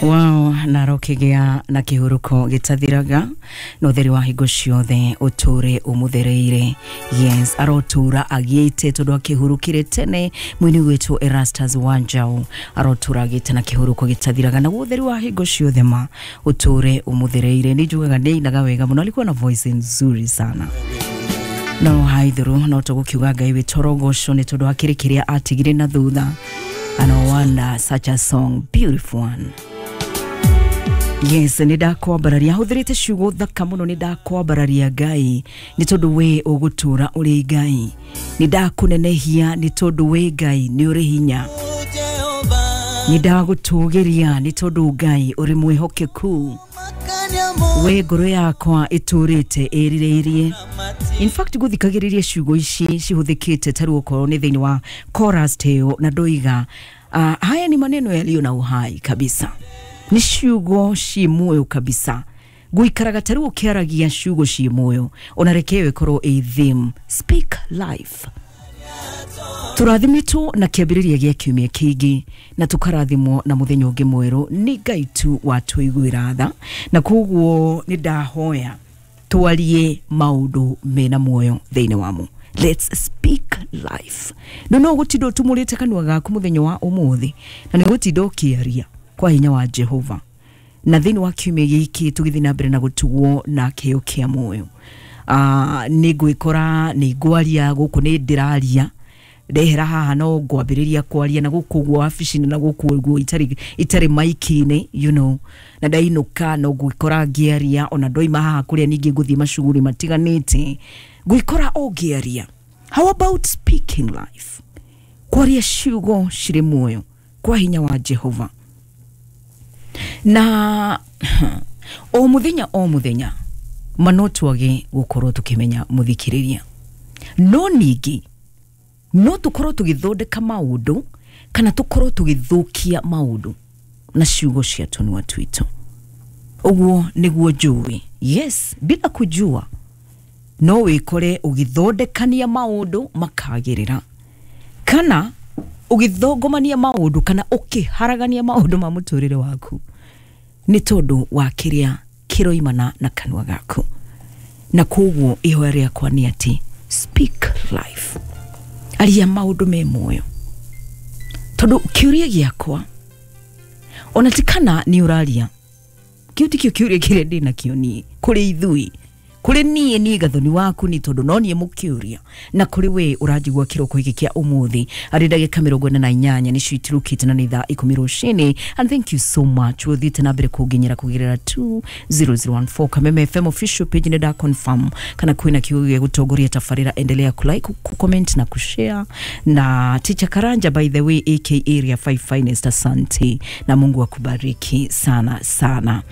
Wow, narokigĩa na kĩhuruko gĩtathiraga na ũtheri wa hingo ciothe ũtũre ũmũthereire. Yes, arotũra agĩte tondũ akĩhurũkire tene mwini gwĩtwo Erastus Wanjau, arotũra agĩte na kĩhuruko gĩtathiraga na ũtheri wa hingo ciothe ma ũtũre ũmũthereire. Nĩ njugaga nĩ ainaga wega mũno, alikuwa na voice nzuri sana. No haithuru no tũgũkiuga Ngai witũ rogoco nĩ tondũ akĩrĩ kĩrĩa atigire na thutha. And no wonder, such a song, beautiful one. Yes, nĩ ndakwambararia, hũthĩrĩte ciugo thaka mũno. Nĩ ndakwambararia Ngai nĩ tondũ we ũgũtũra ũrĩ Ngai, nĩ ndakũnenehia nĩ tondũ we Ngai nĩ ũrĩ hinya, nĩ ndagũtũgĩria nĩ tondũ Ngai ũrĩ mwĩhokeku, we ngoro yakwa ĩtũrĩte ĩrirĩirie. In fact, gũthikagĩrĩria ciugo ici cihũthĩkĩte ta rĩu okorwo nĩ thĩinĩ wa chorus teo na ndoiga, haya ni maneno yaliyo na uhai kabisa, nĩ ciugo ci muoyo kabisa. Guikaraga ta rĩu ũkĩaragia ciugo ci muoyo, ona reke ĩyo ĩkorwo ĩ theme, speak life. Tũrathimĩtwo na kĩambĩrĩria gĩa kiumia kĩngĩ na tũkarathimwo na mũthenya ũngĩ mwerũ. Nĩ Ngai tu watũiguĩra tha, na koguo nĩ ndahoya twarie maũndũ mena muoyo thĩinĩ wamo. Let's speak life. No no gũtinda ũtumũrĩte kanua gaku mũthenya wa ũmũthĩ na nĩ gũtinda ũkĩaria kwa hinya wa Jehova. Na thĩinĩ wa kiumia gĩkĩ tũgĩthiĩ na mbere na gũtugwo na kĩo kĩa muoyo, nĩ ngwĩkora nĩ ngwaria gũkũ, nĩ ndĩraria ndehera haha no ngwambĩrĩria kwaria na gũkũ ũguo wabici-inĩ na gũkũ ũguo itarĩ maiki-inĩ, na ndainũka no ngwĩkora ngĩaria, ona ndoima haha kũrĩa ningĩ ngũthiĩ macuguri matiganĩte ngwĩkora o ngĩaria. How about speaking life, kwaria ciugo cirĩ muoyo kwa hinya wa Jehova? Na o muthenya o muthenya ma no twage gũkorwo tũkĩmenya mũthikĩrĩria, no ningĩ no tũkorwo tũgĩthondeka maũndũ kana tũkorwo tũgĩthũkia maũndũ na ciugo cia tũnua twitũ. Ũguo nĩguo njũĩ. Yes, bila kujua no wĩkore ũgĩthondekania maũndũ makagĩrĩra kana ũgĩthongomania maũndũ kana ũkĩharagania maũndũ ma mũtũrĩre waku nĩ tondũ wa kĩrĩa kĩroimana na kanua gaku. Na koguo ihoya rĩakwa nĩ atĩ speak life, aria maũndũ me muoyo, tondũ kĩũria gĩakwa ona ti kana nĩ ũraria, kĩu tikĩo kĩũria kĩrĩa ndĩ nakĩo niĩ kũrĩ ithuĩ, kũrĩ niĩ, niĩ Gathoni waku, nĩ tondũ no niĩ mũkĩũria, na kũrĩ we ũranjigua kĩroko gĩkĩ kĩa ũmũthĩ arĩ ndagĩka 48 nĩcio itirũkĩte na nĩ thaa 10 rũcinĩ. And thank you so much ũthiĩte na mbere kũnginyĩra kũgerera 20014 Kameme FM official page. Nĩ nda confirm kana kwĩna kiugo gĩa gũtongoria tabarĩra. Endelea kulike, kucomment na kushare. Na Teacher Karanja, by the way, aka Area 5 Finest, asante na Mungu akubariki sana sana.